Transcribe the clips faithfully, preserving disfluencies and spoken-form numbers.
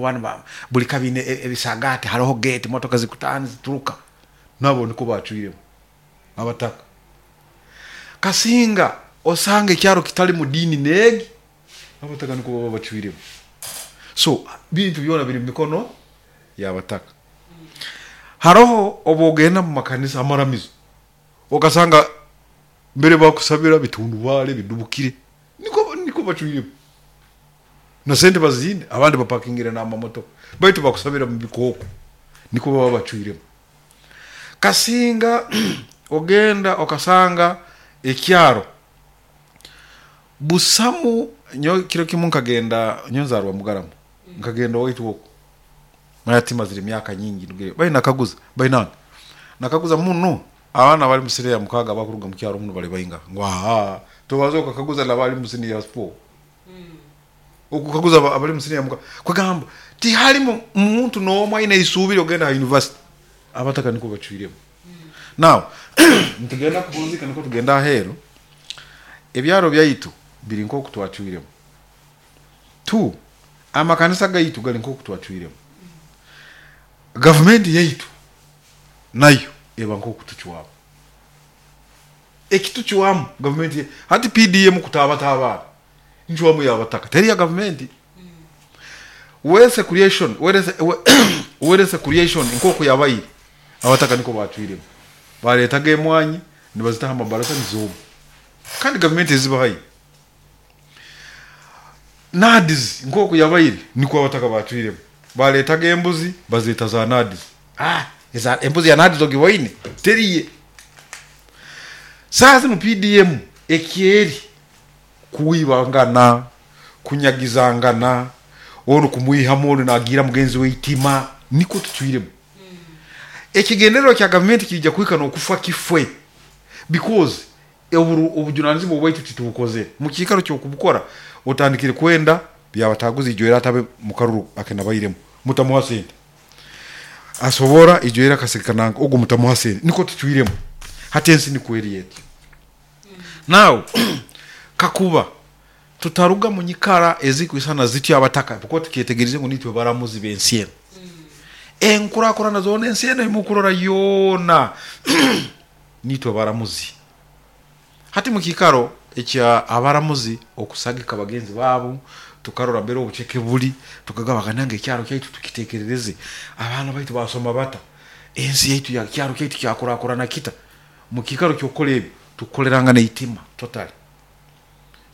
bacwiremu banu ba- buli kabine e- ebisagati, haroho gate, motoka zikutaha nizituruka, nabo niko bacwiremu abataka. Kasinga osanga ekyaro kitali mu diini neegi, abataka niko baba bacwiremu. So bintu byona biri mu mikono y'abataka. Haroho obu ogenda mu makanisa, amaramizo, okasanga mbere bakusabira bitundubaare bidubukire, nikwo nikwo bacwiremu, na sente baziine, abandi bapakingire n'amamotoka, baitu bakusabira mu bikooko, nikwo baba bacwiremu. Kasinga ogenda okasanga ekyaro busamu. Nyowe kiro kimu nkagenda, nyowe nzaarwa Mugarama, nkagenda owaitu oku, hati mazire emyaka nyingi ndugire, baitu nakaguza bainange, nakaguza muno abaana abali mu siniya ya mukaaga abakuruga mu kyaro munu bali baingaha? Ngu aa, tobanza okakaguza n'abali mu siniya ya four, okukaguza aba- abali mu siniya ya mukaaga, kwegamba tihalimu muntu n'omu aine isuubi ly'okugenda ha university, abataka nikwo bacwiremu. Now nitugenda kuhunzika, nukwo tugenda aheeru, ebyaro byaitu biri nk'oku twacwiremu. Two, amakanisa gaitu gali nk'oku twacwiremu. Gavumenti yaitu nayo eba nk'oku tucwamu, ekitucwamu gavumenti. Hati P D M kutaabata abaana ncwamu y'abataka, teri ya gavumenti. Wealth creation wealth, wealth creation nk'oku yabaire, abataka niko bacwiremu, baleetaga emwanyi nibazitaho amabarasa nizooma, kandi gavumenti ezibahaire. NAADS nk'oku yabaire, nikwo abataka bacwiremu, baleetaga embuzi bazeeta za NAADS. Ah, eza embuzi ya NAADS ogiboine? Teriye. Saaha zinu P D M ekyeri kwibangana, kunyagizangana, onu kumwihamu, onu nagiira mugenzi we itima, nikwo tucwiremu. Ekigendererwa kya gavumenti kiija kuhika n'okufa kifwe, because oburu obujunanizibwa obwaitu titubukozere. Mu kiikaro ky'okubukora otandikire kwenda byabataguza ijwera atabe mu karuru akenabairemu, mutamuha sente, asobora ijwera akasirika nanka ogu mutamuha sente, nikwo tucwiremu. Hati ensi nikwo eri etyo. Now kakuba tutaruga mu nyikara ezikwisana zityo abataka, kuba tukyetegerize ngu nitwe baramuzi b'ensi enu, enkurakurana zoona ensi enu emukurora yoona nitwe baramuzi. Hati mu kiikaro ekya abaramuzi okusagika bagenzi baabo, tukarora mbere obuceke buli, tukagamba banange ekyaro kyaitu tukiteekerereze, abaana baitu basoma bata, ensi yaitu, ekyaro kyaitu kyakurakurana kita, mu kiikaro ky'okukora ebi tukukolerangana eitima totally.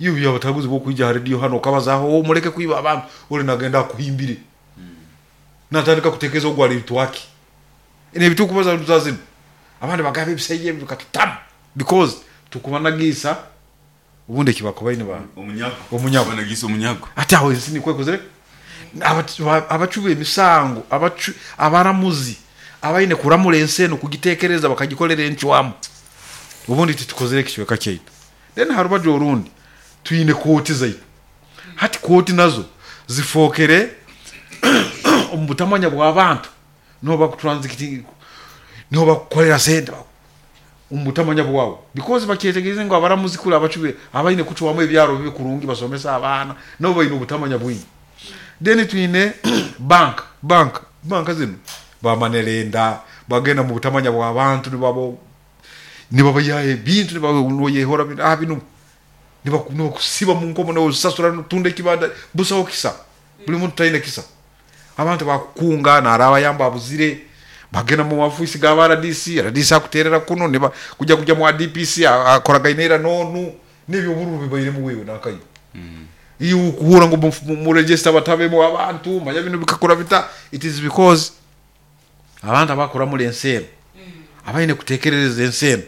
Iwe byabataguzi b'okwija ha rediyo hanu okabazaaho, muleke kwiba abantu, oli nagenda akuhimbire, natandika kutekereza ogu ali twaki n'ebi tukubaza za zinu. Abandi bagamba ebisaija ebi bikatutama, because tukubanagiisa obundi eki bakubaine ba omunyago. Omunyago. Banagiisa omunyago. Ati aho ensi nikwo ekozere. Abacu b'emisango, abacu abaramuzi abaine kuramura ensi enu, kugiteekereza, bakagikolera encwamu, obundi titukozere ekicweka kyaitu. Then ha rubaju orundi twine kooti zaitu. Hati kooti nazo zifookere omu butamanya bw'abantu, niho bakutransitinga, niho bakukolera sente omu butamanya bwawe, because bakyetegerize ngu abaramuzi kuli abacwi abaine kucwamu ebyaro bibe kurungi, basomese abaana, nabo baine obutamanya bwingi. Then twine bank bank banka zinu ba money lender bagenda mu butamanya bw'abantu, nibabo nibabayihaho ebintu, niboyehora ah, binu nibakusiba mu nkomo, nosasura notunda ekibanja, busaho kisa, buli muntu taine kisa. Abantu bakukunga narabayamba abuzire, bagenda mu maofiisi g'aba R D C, R D C akuterera kunu, niba kujya kujya mu D P C akoragaine ira n'onu, n'ebyobururu bibairemu wewe nakayo iwe okuhura ngu mu register batabemu abantu, manya binu bikakura bita. It is because abantu abakuramura ensi enu, abaine kutekerereza ensi enu,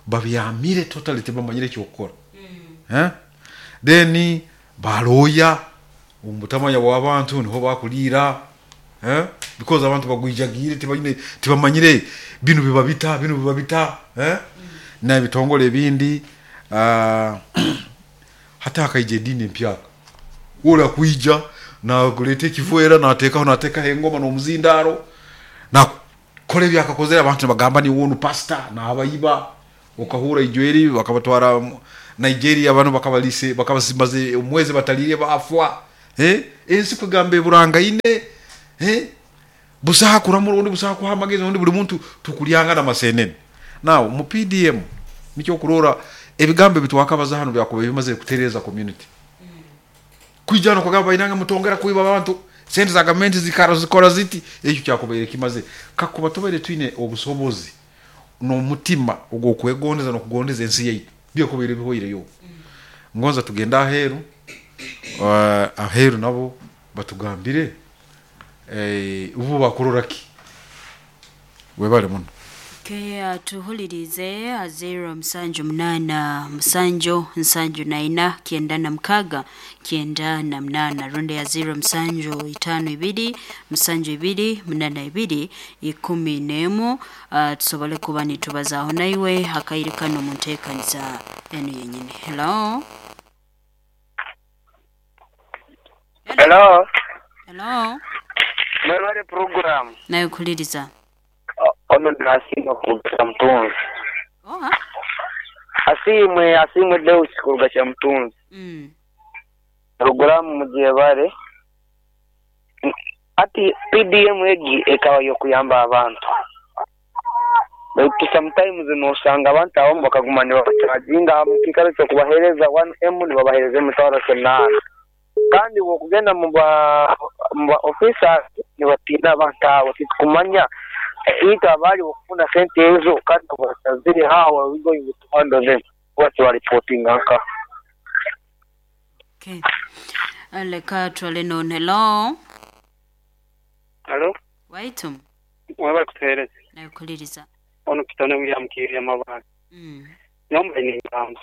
babyamire totally, tibamanyire ekyokukora, eh? Then balooya omu butamanya bw'abantu niho bakuliira, eh? Because abantu bagwijagiire, tibaine, tibamanyire binu biba bita, binu biba bita, eh? N'ebitongole ebindi, uh, hati hakaija ediini empyaka, oli akwija nakuleeta ekivwera, nateekaho nateekaho engoma n'omuzindaaro, nakora ebi akakozere, abantu nibagamba niwe onu pasita nabayiba. Okahurra ijweri bakabatwara Nigeria, banu bakabaliise, bakabasimaze omwezi bataliire, baafwa. Eh, ensi kugamba eburangaine, eh, busaha kuramura ondi, busaha kuha amagezi ondi, buli muntu tukulyanga n'amasenene. Now mu P D M nikyo kurora ebigambo ebitwakabaza hano byakuba bimaze kutereza community. Kwijana kugamba inanga mutongera kuiba abantu sente za government zikara zikora ziti, ekyo kyakubaire kimaze. Kakuba tubaire twine obusobozi n'omutima ogw'okwegondeza n'okugondeza ensi yaitu, byakubaire bihoireyo. Ngonza tugenda aheeru, uh, aheeru nabo batugambire eh, ubu bakurora ki webale muno. Okay, tuhulirize zero musanju munana musanju nsanju na ina kienda na mkaga kienda na mnana, runde ya zero musanju itano ibiri musanju ibiri munana ibiri ikumi nemu. Uh, tusobole kuba nitubazaho naiwe hakairikano munteekaniza enu yenyine. Hello. Hello. Hello. Mwebale program. Nayo kuliriza. Ono ndasima kuruga Mtunzi. Oha. Asimwe asimwe Deus kuruga cha Mtunzi. Mm. Program mujebare. Ati P D M egi ekawa yokuyamba abantu. Baitu sometimes nosanga abantu abamu bakaguma nibabacharginga mu kikaro cyo kubahereza one M nibabahereza emitwaro kinana. Kandi wokugenda mu ba mu ba officer nibatina abantu abo tikumanya ita abali okufuna sente ezo kandi batazire hawa we going to handle them what you are reporting anka. Okay. Aleka twale no. Hello. Hello. Waitum. Mwaba kutereza. Na kuliriza. Ono kitone William Kiri amabanga. Mm. Nomba ni ngamba.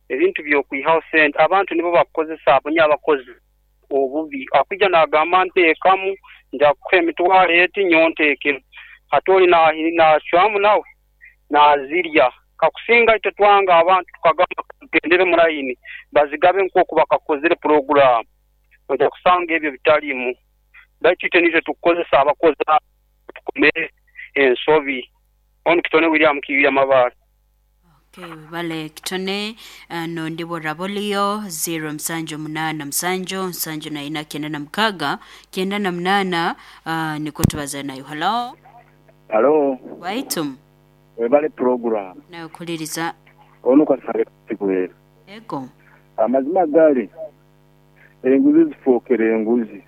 Ebintu by'okwihaho sente abantu nibo bakozesa abonya abakozi obubi akujja nagamba nteekamu nja kukuha emitwaro eti nyonteekero ate oli nacwamu nawe nazirya. Kakusinga itwe twanga abantu tukagamba tugendere mu layini bazigabe nk'oku bakakozere puroguramu, ojja kusanga ebyo bitalimu. Baitu itwe nitwe tukukozesa abakozi tukomere ensobi. Ono kitone William Kiwira Mabaale. Okay, wale kitone uh, no ndibo rabolio zero msanjo munana msanjo msanjo na ina kienda na mkaga kienda na mnana. Uh, niko tubaza nayo. Hello. Hello. Waitum. Webale program. Na kuliriza. Ono kasale kuwera. Ego. Amazima gari enguzi zifokere enguzi.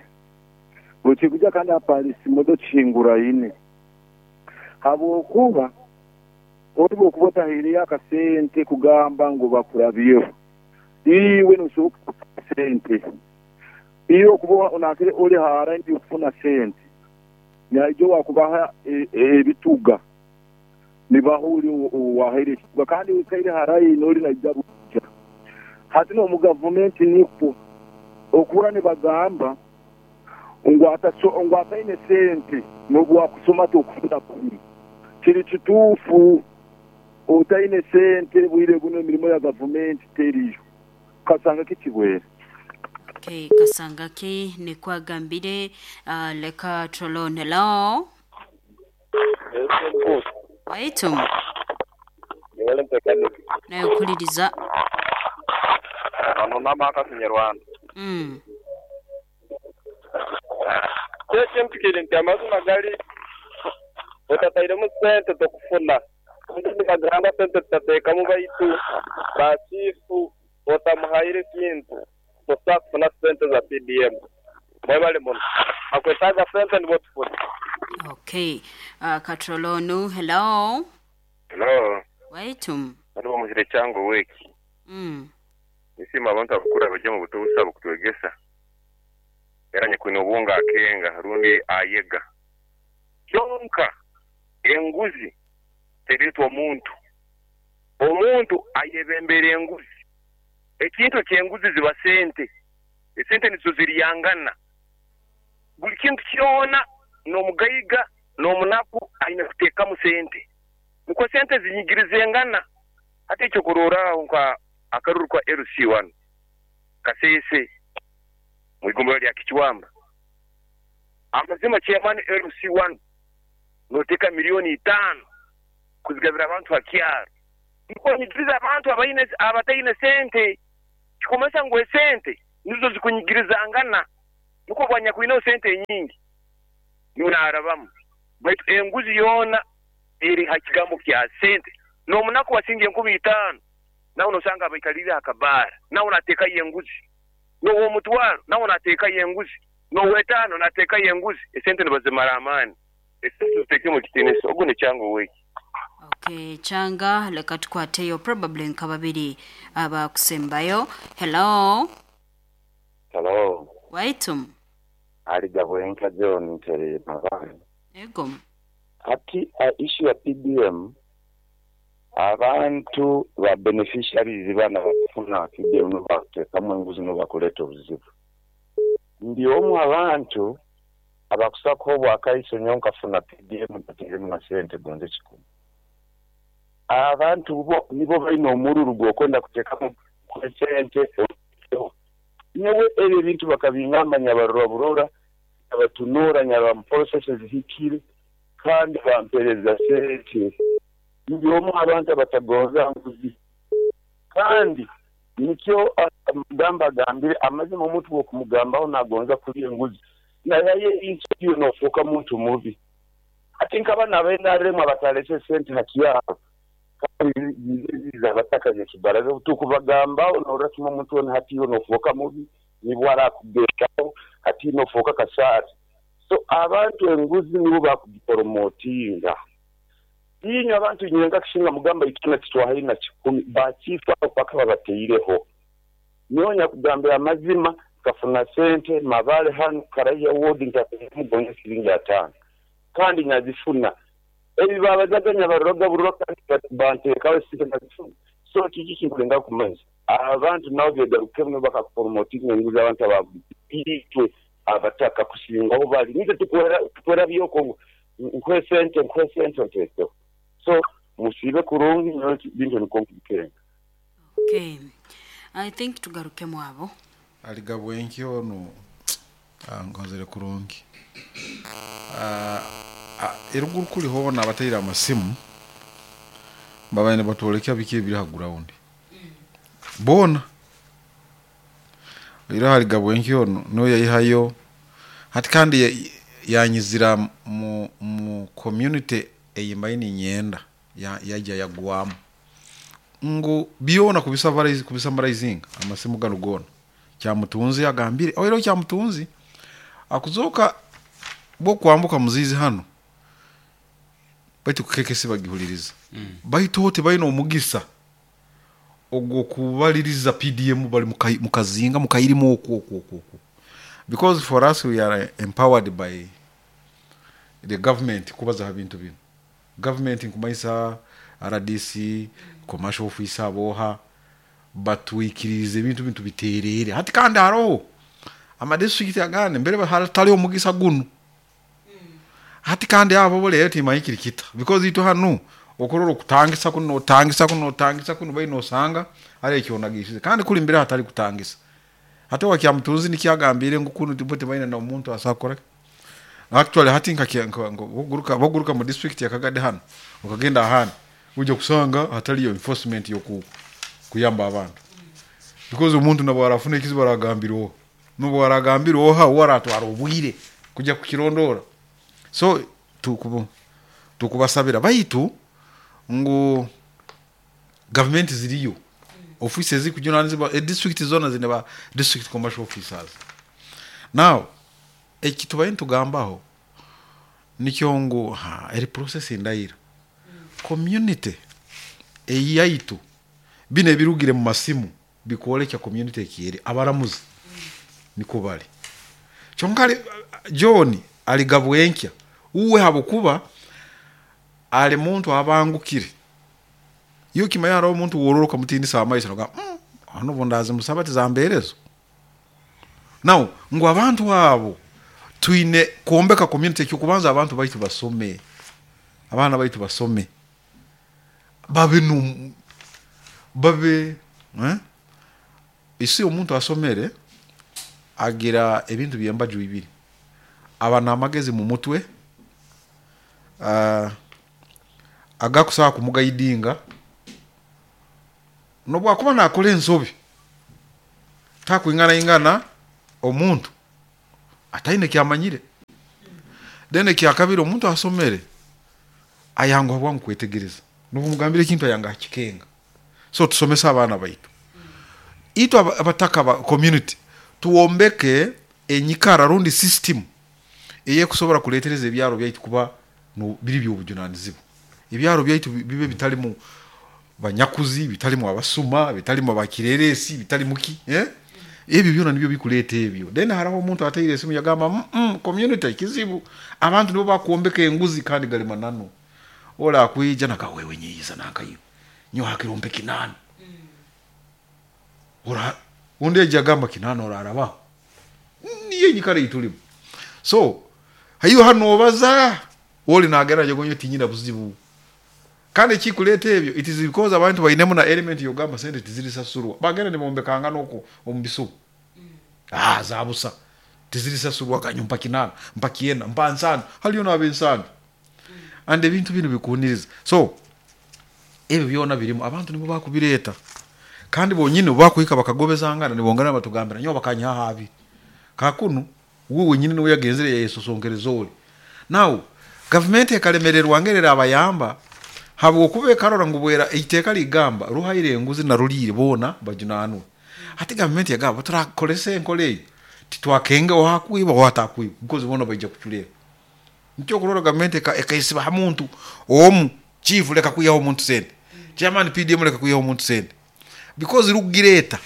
Bukikuja kandi apalisi modo chingura ine. Habwokuba oli bw'okuba otahiireyo akasente kugamba ngu bakurabyeho, iwe nosobola kufuna sente, iwe okuba onakire oli hara ndi okufuna sente, naijo wakubaha ebituga nibaha oli owahaire ekituga kandi wikaire harayi n'oli naija buja. Hati n'omu gavumenti nikwo okura nibagamba ngu ataine sente n'obu wakusoma tokufuna kubi. Kiri kituufu. Otaine sente bwire buno emirimo ya gavumenti teriyo. Kasanga kikibwere. Okay, kasanga ki nikwagambire. Uh, leka trolone. Hello. Waitum. Nayo kuliriza. Ano nama akasinyarwanda. Mm. Kye mpikire nti amazima gali otatairemu sente tokufuna. Nibagamba sente tutateekamu baitu bachifu otamuhaire kintu tosobola kufuna sente za P D M. Mwebale muno. Akwetaaga sente nibo tufuna. Okay. Uh, Katrolonu, hello. Hello. Waitum. Hano muzire cyango weki. Mm. Nisima abantu abakura bajya mu buto busaba kutwegesa. Era nyakwine obunga akenga rundi ayega. Kyonka enguzi teritwa omuntu. Omuntu ayebembera enguzi. Ekintu ky'enguzi ziba sente. Esente nizo ziriyangana. Buli kintu kyona n'omugayiga n'omunaku aine kuteekamu sente. Niko sente zinyigirizengana. Ate ekyo kuroraho nka akaruru kwa L C one Kasese mu igombolola lya Kichwamba. Amazima chairman L C one noteka milioni itano kuzigabira abantu akyaro. Niko nyigiriza abantu abaine abataine sente. Kikomesa ngo sente Nizo zikunyigirizangana nukwo bwanyakwinaho sente enyingi niwe naarabamu. Baitu enguzi yoona eri ha kigambo kya sente. N'omunaku wasinga enkumi itaano nawe nosanga abaikalire akabaara nawe nateekayo enguzi, n'ow'omutwaro nawe nateekayo enguzi, n'ow'etaano nateekayo enguzi. Esente nibazimara amaani. Esente ziteekemu ekitiinisa. Ogu ni Kyanga oweki. Okay, Kyanga, leka tukwateyo probably nka babiri abakusembayo. Hello. Hello. Waitum. Ali Gabwenka John Ntere Mabani. Ego. Ati uh, issue ya P D M abantu ba beneficiaries bana bakufuna P D M no bateekamu enguzi no bakuleta obuzibu. Ndi omu abantu abakusako obwakaiso nyo nkafuna P D M bateeremu na sente gonze kikumi. Abantu bo nibo balina omululu gw'okwenda kuteekamu sente. Nyowe ebyo ebintu bakabingamba nyabarora burora abatunura nyaba processes zihikire kandi bampereza sente. Ndi omu abantu abatagonza nguzi. Kandi nikyo mugamba agambire amazima omuntu w'okumugambaho nagonza kulya enguzi naye insecure nofuuka muntu mubi. Ate nk'abaana ba N R M abatalese sente haki yabo kandi ziza abatakaje kibaraza tukubagambaho norasima omuntu wona hati yo nofuuka mubi nibwo arakugekaho hati nofuuka kasari. So abantu enguzi nibo bakugiporomotinga. Inyo abantu nyenga kishinga mugamba ikina kitwahali na kikumi bachifu paka babateireho. Nyonya kugambira amazima kafuna sente mabale hanu karaya ward ntamugonya siringi atano kandi nyazifuna ebi babazaganya baroga buroka banteekawo sente nazifuna. So kiki kinkulenga kumanya abantu nabo begarukemu bakakupromotinga enguzi abantu abitwe abataka kusinga abo bali nite tukwera tukwera byoko nkwe sente nkwe sente nteso. So musibe kurungi bintu nikonkubitenga. Okay. I think tugarukemu abo. Aligabwenki ono ngonzere kurungi. Ah uh, eruguru kuli hona abatayira amasimu babaine batolekya biki ebiri ha ground. Mm. Bona ira haligabwenki ono no yayihayo hati kandi yanyizira mu, mu community eyimbaini nyenda ya yajya yagwamu ngo biona kubisavarize kubisamarizinga amasimu gano gona Kyamutunzi agambire oiro Kyamutunzi akuzoka bo kwambuka muzizi hano baitu kukekesi bagihuliriza mm. Baitu hote bayino omugisa ogwo kubaliriza P D M bali mukazinga mukayirimu okwo okwo okwo because for us we are empowered by the government kubaza bintu bino. Government nkumayisa R D C commercial officer boha batwikirize ebintu bintu biterere hati kandi haro ama district agane mbere hatali omugisa gunu mm. Hati kandi abo bole eti mayikirikita because ito hanu okororo kutangisa kuno otangisa kuno otangisa kuno bayino osanga ale ekyonagishize kandi kuli mbere hatali kutangisa hati wakyamutunzi nikyagambire ngukunu tibote bayina na omuntu asakora actually hati nka boguruka boguruka mu district ya Kagade hano ukagenda ahana uje kusanga hatali yo enforcement yoku kuyamba abantu because omuntu nabo arafuna ekizibu aragambira nubo aragambira oha waratwara obwire kujya kukirondora. So tukubu tukubasabira baitu ngo government ziriyo offices zikujuna nziba e district zona zine ba district commercial officers. Now ekitubaye ntugambaho nikyo ngo ha eri process indayira community eyaitu bine birugire mu masimu bikolekya community ekiyeri abaramuzi niko bali kyonkali John aligabwenkya uwe habukuba ali muntu abangukire iyo kimayara omuntu wororoka mutindisa amaisha noga mm, hano bondazi musabati zamberezo. Now ngo abantu abo twine kuombeka community cyo kubanza abantu baitu basome abana baitu basome babe nu babe eh isi omuntu asomere agira ebintu byembaju bibiri aba namagezi mu mutwe uh, agakusaba kumugayidinga nobwa kuba nakola ensobi Takwingana ingana omuntu ataine kyamanyire. Then ekyakabiri, omuntu asomere ayanguha bwangu kwetegereza, nobumugambira ekintu ayanga akikenga. So tusomese abaana baitu. Itwe aba- abataka ba community tuwombeke enyikara rundi system eyekusobora kuletereza ebyaro byaitu kuba no- biri byobujunanizibwa. Ebyaro byaitu bi- bibe bitalimu banyakuzi, bitalimu abasuma, bitalimu abakireresi, bitalimu ki, eh? Ebyo byona nibyo bikuleta ebyo. Then haraho omuntu ateire esimu yagamba, mm -mm, community kizibu, abantu nibo bakuombeka enguzi. Kandi gali mananu. Ola akwija nakawewe nyiza nakayo nyo hakirompe kinana, ora undi eja agamba kinana orarabaho. Niyo enyikara eitulimu. So haiyo hano obaza oli nagera jagonyo tinyina buzibu. Kandi ekikuleta ebyo, it is because abantu bainemu na element yogamba sente tizirisasurwa. Bagenda nibombekanga noko omu bisubu, ah, zabusa tizirisasurwa, kanyo mpa kinana, mpa kienda, mpa nsano, haliyo n'abensano. And ebintu bino bikuniriza. So ebyo byona birimu, abantu nibo bakubireta. Kandi bonyine bakuhika bakagobezangana, nibongana batugambira nyo bakanyaha abiri kakunu we wenyine niwe yagenzere yayesosonkereza oli. Now gavumenti ekalemererwa ngerera abayamba habwokuba ekarora ngu bwera iteeka ligamba ruhaire enguzi na ruliire boona bajunanwe. Hati gavumenti yagamba turakolesa enkola eyo titwakenge owakwiba owatakwiba, because boona baija kuculera. Nikyo okurora gavumenti eka- ekaisiba ha muntu omu, chief leka kwihaho omuntu sente, chairman P D M leka kwihaho omuntu sente, because rugireta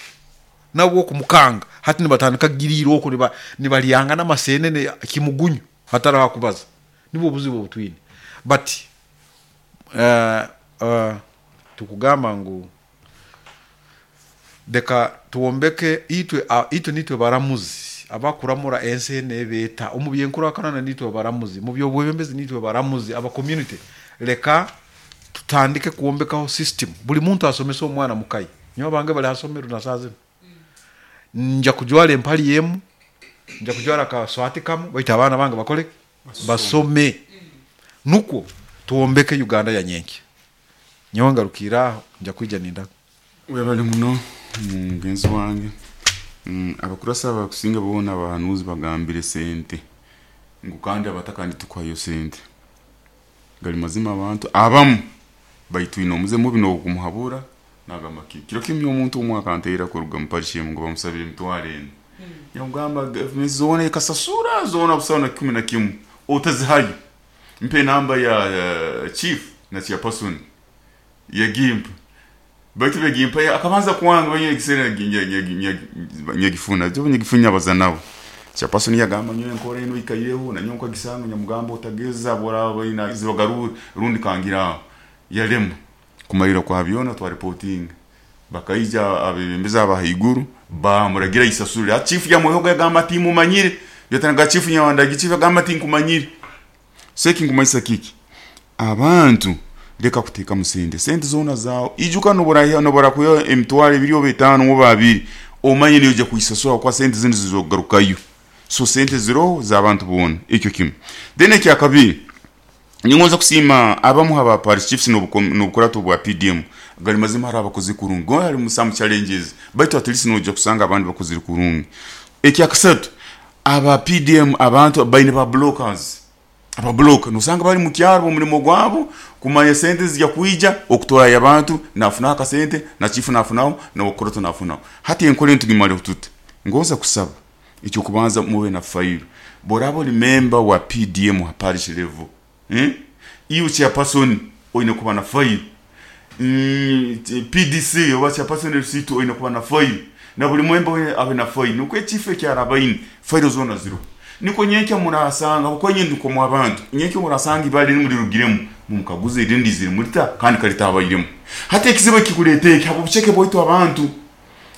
nabwo okumukanga. Hati nibatandika kugiriira okwo niba- nibalyanga n'amasenene kimugunyu hataraho akubaza. Nibwo obuzibu obutwine. But uh, uh, tukugamba ngu leka tuwombeke itwe, uh, itwe nitwe baramuzi abakuramura ensi eno ebeeta omu byenkurakurana, nitwe baramuzi mu byobwebembezi, nitwe baramuzi aba community. Leka tutandike kwombekaho system, buli muntu asomese omwana mukayi. Nyowe abange bali hasomero na saa zino, nja kujwara empali emu, nja kujwara akaswati kamu, baitu abaana bange bakole basome, nukwo tuwombeke Uganda ya nyenkya. Nyowe ngarukire aho, nja kwija nindaga. Webale muno mugenzi wange. Mm, abakurasa abakusinga boona abahanuzi bagambire sente ngu kandi abataka nitukuhayo sente. Gali mazima, abantu abamu baitwine omuze mubi n'okumuhabura nagamba ki kiro kimwe omuntu omwe akanteera kuruga mu parish ngo bamusabire emitwaro ena. Yamugamba gavumenti zoona ekasasura zoona busawa na kikumi na kimu otazihayo, mpe namba ya uh, chief na chairperson. Yagimpa, baitu begimpa akabanza kwanga banye ekiseera nyagifuna jo nyagifunya baza nabo. Chairperson yagamba nyowe nkora eno ikaireho na nyowe nkagisanga. Nyamugamba otageza bora baina zibagaru rundi kangira yarema kumalira kwa byona. Twa reporting, bakaija abebembezi abahaiguru bamuragira isasurire. Chief yamwehoga yagamba ati mumanyire yatanaga chief nyawandagi. Chief yagamba ati nkumanyire. Seki nkumanyisa kiki? Abantu leka kuteekamu sente, sente zoona zaawe. Ijuka nobora nobora kuya emitwaro ebiri oba etaano oba abiri, omanye niyo ojja kuisasura kwa sente zindi zizogarukayo. So sente ziroho z'abantu boona, ekyo kimu. Then ekyakabiri, ningonza kusiima abamu aba parish chiefs n'obukurato bwa P D M. Gali mazima hari abakozi kurungi, go hari some challenges, baitu at least nojja kusanga abandi bakozire kurungi. Ekyakasatu, aba P D M abantu baine ba blockers. Aba block nosanga bali mu kyaro, omulimo gwabo kumanya sente zijja kwija okutorayo abantu, nafunaho akasente, na chief nafunaho, nobukurato nafunaho. Hati enkora entugimale tuti ngonza kusaba ekyokubanza mube na file. Boraba oli member wa P D M ha parish level, eh? Iwe chairperson oine kuba na file, mm, P D C oba chairperson receipt oine kuba na file, na buli mwemba we abe na file, nukwo ekifo ekyarabaine file zona ziro, niko nyenkya murasanga kuko nyine ndiko abantu nyenkya murasanga ibali nimulirugiremu mumukaguze irindi ziri mulita kandi kalitabairemu. Hati ekizibu ekikuleeta eki habo bucheke bwaitu abantu.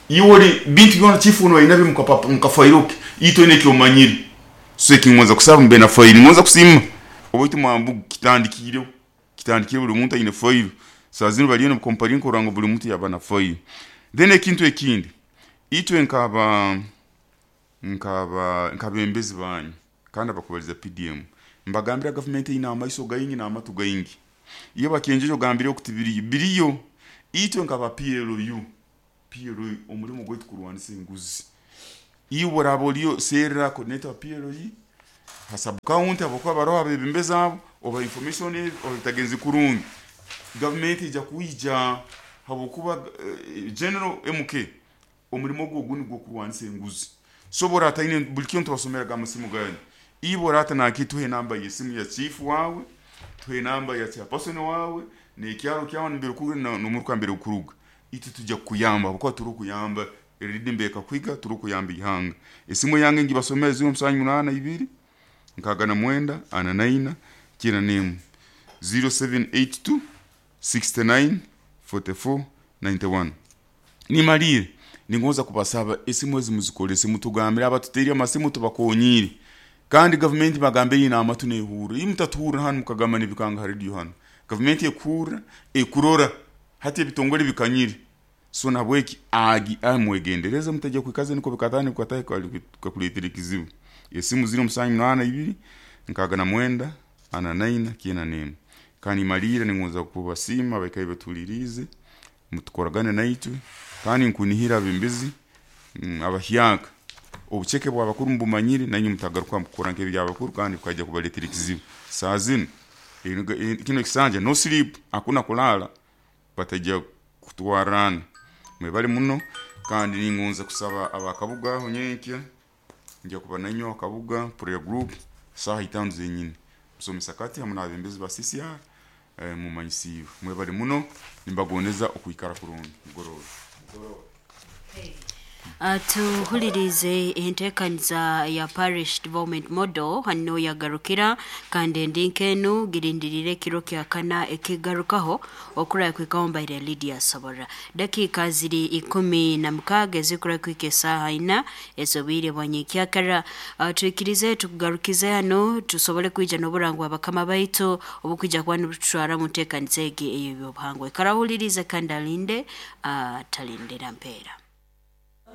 Iwe oli bintu byona chifu ono ayina mukafairoke ito ine ekyomanyire. So ekingonza kusaba mbe na file. Ngonza kusima obaitu mwambu kitandikireho kitandikire buli muntu aine file. Saa zino baliyo nibakomparinga kurora ngu buli muntu yaba na file. Then ekintu ekindi, itwe nkaba nkaba nkabembezi banyu kandi abakubaliza P D M, mbagambira gavumenti ine amaiso gaingi n'amatu gaingi. Iyo bakenjeje ogambire okuti biriyo biriyo. Itwe nkaba P L U P L U omulimo gwaitu kurwanisa enguzi. Iwe oraba oliyo serra coordinator wa P L E ha sub county, abakuba baroho abebembezi abo, oba information ebi obitagenzi kurungi, gavumenti ija kwija habwokuba eh, General M K omurimo gwe ogu nigwo kurwanisa enguzi. So borataine buli kintu tubasomeraga amasimu ganyu, iwe orata naki tuhe namba y'esimu ya chief wawe, tuhe namba ya chairperson wawe, n'ekyaro kyawe mbere kuruga n'omuruka mbere kuruga, itwe tujja kukuyamba habwokuba turi kuyamba erindi mbeka kwiga, turi kuyamba ihanga. Esimu yange ngibasomera zero musanju munana ibiri nkaga na mwenda ana naina kina nemu zero seven eight two sixty nine forty four ninety one. Nimalire ningoza kubasaba esimu ezi muzikolese, mutugambire abatuteri amasimu tubakonyire, kandi government bagambe ina amatu nehura imutatuhura hano mukagamba nibikanga radio hano, government ekura ekurora hati ebitongole bikanyire. So nabweki agi amwegendereza mutajya kwikaza niko bikatani bikataye kakuletera kizibu. Esimu zero musanju munana ibiri nkaga na mwenda ana naina kina nemu. Kandi malira ningoza kubasima bakaye batulirize mutukoragane naitwe, kandi nkunihira abembizi mm, abahyaka obucheke bw'abakuru mbumanyire nanyu mutagaruka mukora nk'ebyabakuru kandi bukajya kubaletera kizibu. Saa zino kino kisanja no sleep, hakuna kulala, batajya kutwarana. Mwebale muno, kandi ningonza kusaba abakabuga aho nyenkya njya kuba nanyo akabuga prayer group saha itanu zenyine musomesa kati hamwe n'abembezi ba C C R eh, mumanyisiwe. Mwebale muno, nimbagondeza okuikara kurungi mugoroba. Tuhulirize enteekaniza ya Parish Development Model hano yagarukira, kandi ndinkenu girindirire kiro kya kana ekigarukaho okura kwikaombaire Lydia Sobora. Dakika ziri ikumi na mukaaga ezikura kwika esaaha ina ezobwire bwa nyekyakara. Tuikirize tukugarukize hano tusobole kwija n'oburangwa abakama baitu obukwija kuba nibututwara mu nteekaniza egi ey'ebyobuhangwa. Karahulirize kandi alinde, atalindira mpeera.